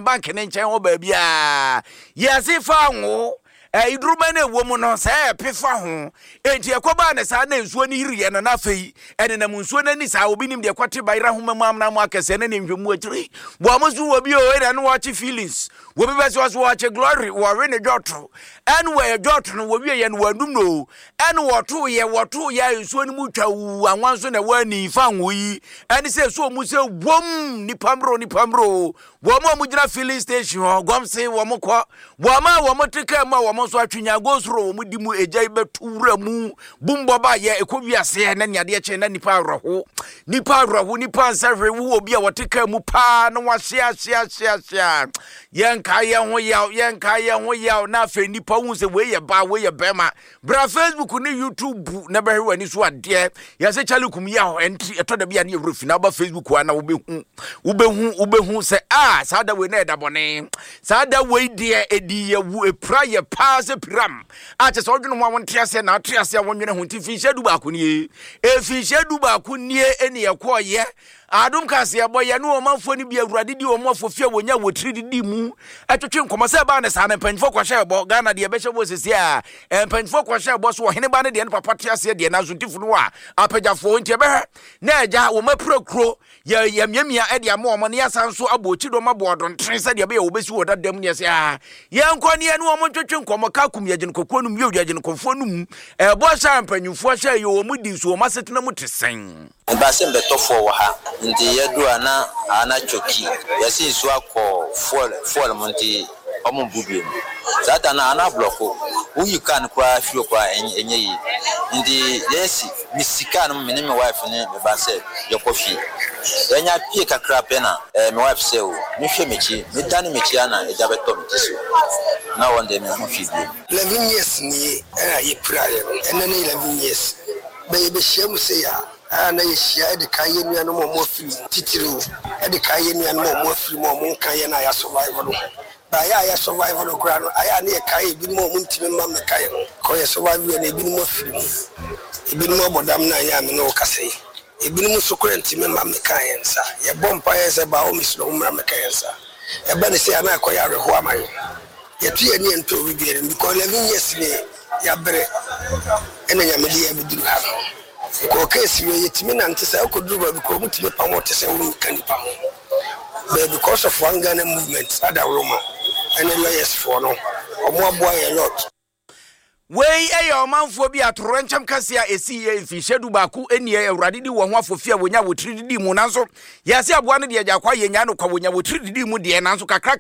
Bank ne nkyɛn hɔ baabiara. Yɛse fa ngo, iduruma no ɛwɔ mu no, sɛ ɛpe fa ho. Enti ɛkɔbaa ne saa na nsuo no yiriiɛ no, na afei ɛnenam nsuo no ani saa. Obi nim deɛ ɛkɔte bayerɛ ahoma mu amena mu akɛseɛ ne ne nhwɛmu akyiri. Wɔn nso wɔ bi o, ɛna ne wɔkye feelings. Wɔbi bɛ sɛ ɔso wɔkye glory, wɔwe ne dwɔto. Ɛne wɔyɛ dwɔto no, wɔwie yɛ no wɔanum no o. Ɛne wɔto yɛ, wɔto yɛ nsuo no mu twa wu, anwa nso na ɛwɔ ani fa ngo yi. Ɛne sɛ ɛso mu sɛ wom, nipa mmerɛ o, nipa mmerɛ o. Wɔn a wɔgyina filling station hɔ, gɔm se wɔn kɔ. Wɔn a wɔte kaa mu a wɔn nso atwe nyago soro wɔn di mu egya yi bɛto wura mu. Bumbɔ ba yɛ ɛkɔ wiaseɛ na nea adeɛ kyɛn na nipa awerɛho. Nipa awerɛho, nipa nsa hwee wo obi a wɔte kaa mu paa na wahye ahye ahye ahye a. Yɛnka yɛn ho yaw, yɛnka yɛn ho yaw na afei nipa hu sɛ wei yɛ baa, wei yɛ bɛrima. Bra Facebook ne YouTube na bɛhwɛ w'ani so adeɛ. Yɛsɛ Charlie kum yaw ɛnti ɛtɔ da bi a ne yɛwerɛ fi na woba Facebook a na wobɛhu wobɛhu wobɛhu sɛ a saa da wei na ɛda bɔne. Saa da wei deɛ ɛdi yɛ wu ɛpira yɛ paa sɛ piram a kyɛ sɛ wodwene ho a wonte aseɛ na ate aseɛ a wonwene ho nti mfinhyia 11 nie. Mfinhyia 11 nie ɛne ɛkɔɔyɛ Adom kaseɛbɔ, Yɛne ɔmanfoɔ no bi Awurade di wɔn afɔfi a wɔnya wɔ tiri didi mu twetwe nkɔmmɔ. Sɛ ɛbaa no saa no, mpanyinfoɔ kɔhyɛɛ bɔ. Ghana deɛ ɛbɛhyɛ bɔ sisi a, mpanyinfoɔ kɔhyɛɛ bɔ so ɔhene ba no deɛ ne papa te aseɛ deɛ nanso nti funu a apagyafoɔ nti ɛbɛhwɛ na agya wɔn apira kuro yɛ yɛmiamia de ama wɔn ne yɛasan nso abɔ akyi dɔm abɔ ɔdɔntene sɛdeɛ ɛbɛyɛ wɔbɛsi wɔ dada mu ne ɛsɛ a yɛnkɔ ne yɛne wɔn ntwetwe nkɔmmɔ ka kum yɛgyene kɔkuo no mu yɛ yɛgyene kɔfoɔ no mu ɛbɔ hyɛ a mpanyinfoɔ hyɛ yɛ wɔn di nso wɔn asetena mu te sɛn. Meba sɛ mbɛtɔ fuel wɔ ha ntsi yɛdu a na aa na choki yɛse nsuo akɔ fuel fuel mu ntsi ɔmo mbu biom saa da no aa na ablɔko woyi car no koraa firi hɔ koraa ɛnyɛ yie ntsi yɛsi mesi car no mu me ne me wife ne me ba sɛ yɛkɔ fie yɛnya pie kakra pɛ na ɛɛ me wife sɛ o me hwɛ mekyi me dane mekyi aa na egya bɛtɔ me ti so na wɔn deɛ menhu hwee biom. 11 years nie a yɛpiraeɛ no, ɛnnɛ ne 11 years. Bɛ yɛbɛhyia mu sei a, a na yɛhyia de kae yɛn nuanom a wɔafiri mu, titiriw de kae yɛn nuanom a wɔafiri mu a wɔnka yɛn a yɛasurvive no ho. Bɛ ayɛ a yɛasurvive no koraa no, ayɛ a na yɛkae ebinom a wɔntumi mma mmɛka yɛn ho. Kɔ yɛsurvive yɛ no, ebinom afiri mu, ebinom abɔ dam na ɛnyɛ a me ne wo kasa yi. Ebinom nso koraa ntumi mma mmɛka yɛn nsa. Yɛbɔ mpaeɛ sɛ by all means no wɔmmra mmɛka yɛn nsa. Ɛba no sei a na ɛkɔyɛ awerɛhoɔ ama yɛn. Yɛto yɛn ani yɛntɔ obi biara mu because 11 years nie yɛabrɛ ɛna Nyame de yɛn abɛduru ha no. Mekɔɔ case wei yɛtumi nante saa kɔduru baabi koraa wɔtumi pam wo te sɛ wonka nipa ho but because of one Ghana movement adaworoma ɛne lawyers foɔ no wɔn aboa yɛn lot. Wei yɛ ɔmanfoɔ bi atoyerɛnkyɛm kɛseɛ a ɛsiiɛ mfinhyia 11 nie. Awurade di wɔn ho afofie a wɔnya wɔ tiri didii mu. Nanso yɛse aboa no deɛ agya kwa, yɛnyaa no kwa, wɔnya wɔ tiri didii mu deɛ, nanso kakra.